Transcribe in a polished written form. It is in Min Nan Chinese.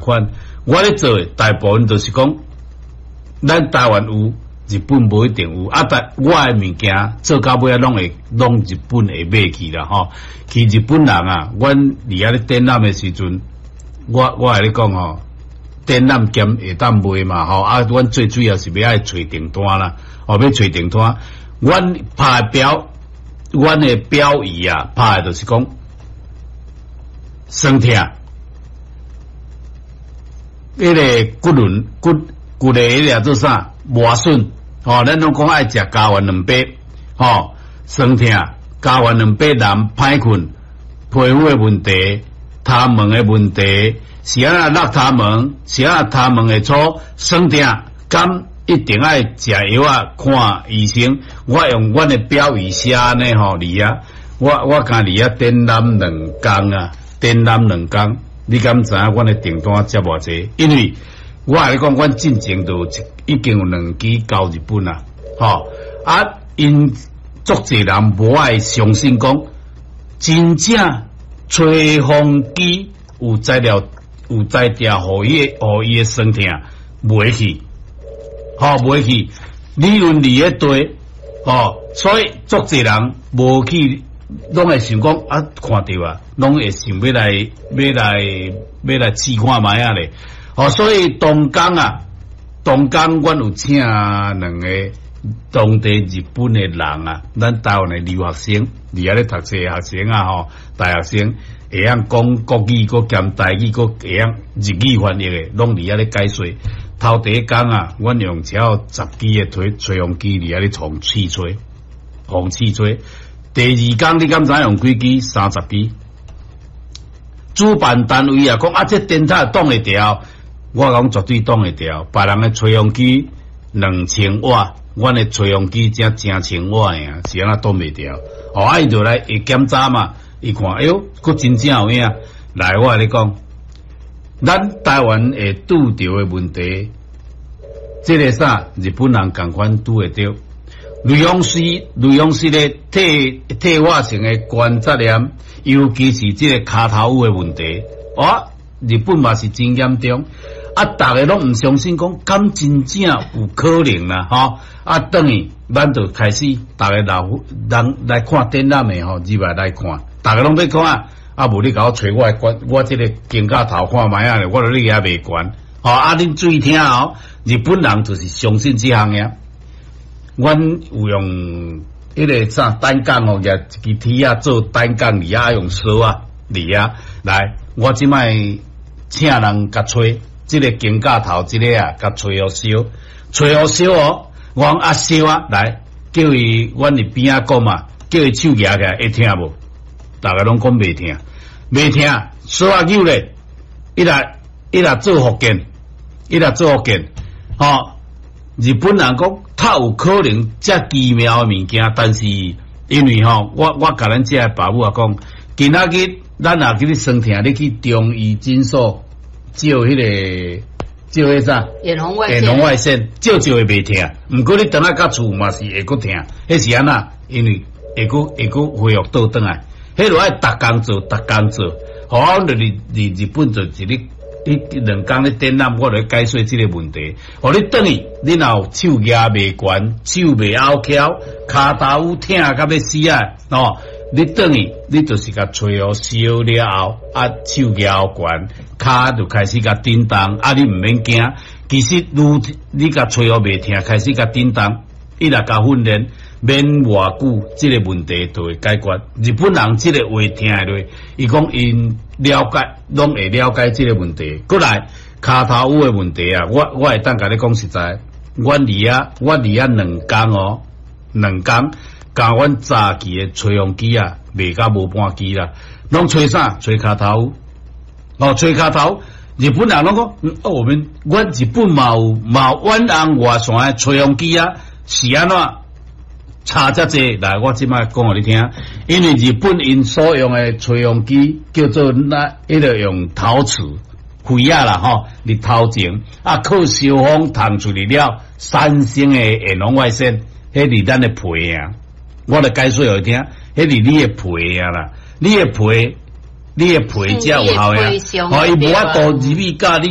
款。我咧做的大部分就是講，咱台灣有，日本無一定有。啊，但我的物件做到尾仔攏會攏日本會買去啦吼。去日本人啊，阮佇遐咧展覽的時陣，我會咧講吼，展覽兼會當賣嘛吼。啊，阮最主要是欲愛揣訂單啦，哦，欲揣訂單。阮拍的標，阮的標語啊，拍的就是講酸痛。彼個骨輪骨骨的彼個做啥磨損？吼，咱攏講愛食膠原蛋白，吼，酸痛、膠原蛋白難歹睏、皮膚的問題、頭毛的問題，是按怎落頭毛，是按怎頭毛會粗，酸痛，敢一定愛食藥仔看醫生。我用阮的標語寫按呢吼，佇遐，我敢佇遐展覽兩工啊，展覽兩工。你敢知影阮的訂單接偌濟？因為我共你講，阮進前就已經有兩支交日本啦，吼啊！𪜶足濟人無愛相信講，真正吹風機有材料有才調，予伊的酸痛袂去，吼袂去。理論佇咧對，吼，所以足濟人無去。攏會想講啊，看著啊，攏會想欲來試看覓仔咧。哦，所以當工啊，當工阮有請兩個當地日本的人啊，咱台灣的留學生，佇遐咧讀冊的學生啊，吼，大學生會曉講國語，閣兼台語，閣會曉日語翻譯的，攏佇遐咧解說。頭第一工啊，阮用超十支的吹風機佇遐咧創試吹，放試吹。第二工你敢知用幾支？30支。主辦單位啊，講啊，這電塔擋會牢，我講絕對擋會牢。別人的吹風機2000瓦，阮的吹風機才成千瓦爾，是按怎擋袂牢？哦，啊，伊就來會檢查嘛，伊看，哎喲，閣真正有影。來，我共你講，咱台灣會拄著的問題，這個啥？日本人仝款拄會著。類風濕的退化性的關節炎，尤其是這個跤頭趺的問題，哦，日本嘛是真嚴重。啊，逐家攏毋相信，講敢真正有可能啦，吼！啊，轉去咱就開始，逐家老人來看展覽的吼，入來來看，逐家攏欲看，啊，無你共我揣我的關，我這個肩胛頭看覓仔咧，我著你遐袂懸，吼！啊，恁注意聽哦，日本人就是相信這項爾。阮有用彼個啥單槓哦，舉一支鐵仔做單槓，佇遐用索仔佇遐來。我這擺請人共吹，這個肩胛頭這個啊，共吹予燒，吹予燒哦。我講啊燒啊，來叫伊，阮佇邊仔講嘛，叫伊手舉起來，會疼無？逐家攏講袂疼，袂疼，索仔扭咧，伊若做復健，伊若做復健，吼。日本人講，較有可能遮奇妙的物件，但是因為吼，我共咱遮的爸母仔講，今仔日咱若去咧酸痛，你去中醫診所照彼個照彼啥？遠紅外遠紅外線照照會袂疼，毋過你轉來到厝嘛是會閣疼，彼是按怎？因為會閣恢復倒轉來，彼就愛逐工做，逐工做。好，阮就佇日本就一日。你兩工咧展覽，我來解說這個問題。予你轉去，你若有手舉袂懸，手袂拗翹，跤頭趺疼甲欲死啊！哦，你轉去，你就是共吹予燒了後，啊手舉懸，跤就開始共震動，啊你毋免驚。其實愈你共吹予袂疼，開始共震動，伊若共訓練，免偌久，這個問題就會解決。日本人這個話聽落，伊講𪜶了解，攏會了解這個問題。閣來，跤頭趺的問題啊，我會當共你講實在，阮佇遐兩工哦，兩工，共阮早期的吹風機啊，賣甲無半支啦，攏吹啥？吹跤頭趺，哦，吹跤頭。日本人攏講，哦，我們阮日本嘛有遠紅外線的吹風機啊，是按怎？差遮濟來，我這擺講予你聽，因為日本𪜶所用的吹風機叫做那，彼個用陶瓷灰仔啦吼，佇頭前啊靠燒風燙出去了，產生的遠紅外線，彼佇咱的皮啊，我來解說予你聽，彼佇你的皮啊啦，你的皮，你的皮才有效的，哦，伊無法度入去佮你。